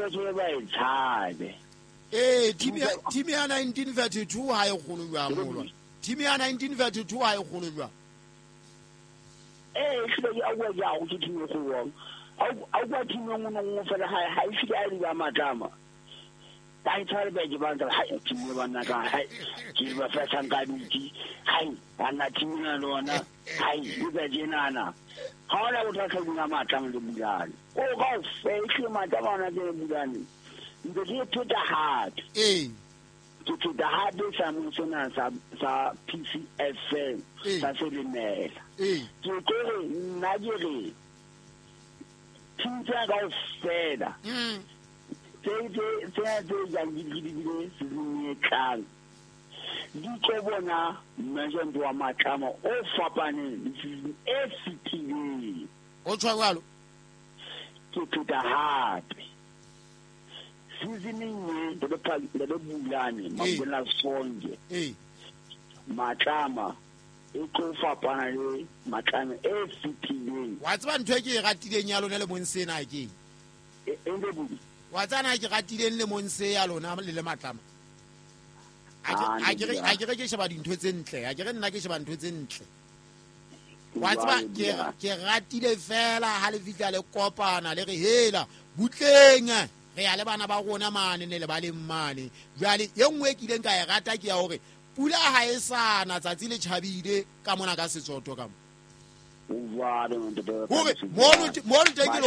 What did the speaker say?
hleke ba e tshabe. Ee, team ya 1932 ha e kgolo jwang molwa? Team ya 1932 ha e kgolo jwang? Ee, ehlile ke a bua ke a go ke team e kgolo. A kwa team e nngwe le nngwe fela ha e file a di ba Matlama. Ba e tshware ba ke ba ntse ha team e banna ka ha ke ba fetang ka ditsi. Hai, banna team ena le ona. Hai, di ba tjenana. Ha ona bothata bo Matlama le Bulane. O ka fehle Matlama ona ke Bulane. Ntse ke pheta hape. Ee. Ke pheta hape sa sena sa PCFM sa Selemela. Ee. Ke tlo re nna ke re team tsena kaofela. Tse tse jang di dibile season e tlang. Di tlo bona management wa Matlama o fapaneng le season e fetileng. O tshwa jwalo? Ke pheta hape. Seasoning e le Bulane Mabona Sonke. Matlama e tlo fapana le Matlama e fetileng. Wa tseba ntho e ke e ratileng ya lona le mong sena ke? Wa tsana ke ratileng le mong se ya lona le le Matlama. A ke re ke sheba dintho tse ntle, a ke re nna ke sheba ntho tse ntle. Wa tseba ke ratile fela ha le fihla le kopana le re hela butleng re ya le bana ba rona mane ne le ba leng mane. Jwale e nngwe e kileng ka e rata ke ya hore pula ha e sana tsatsi le tjhabile ka mona ka Setsoto ka mo. Hore mono teng ke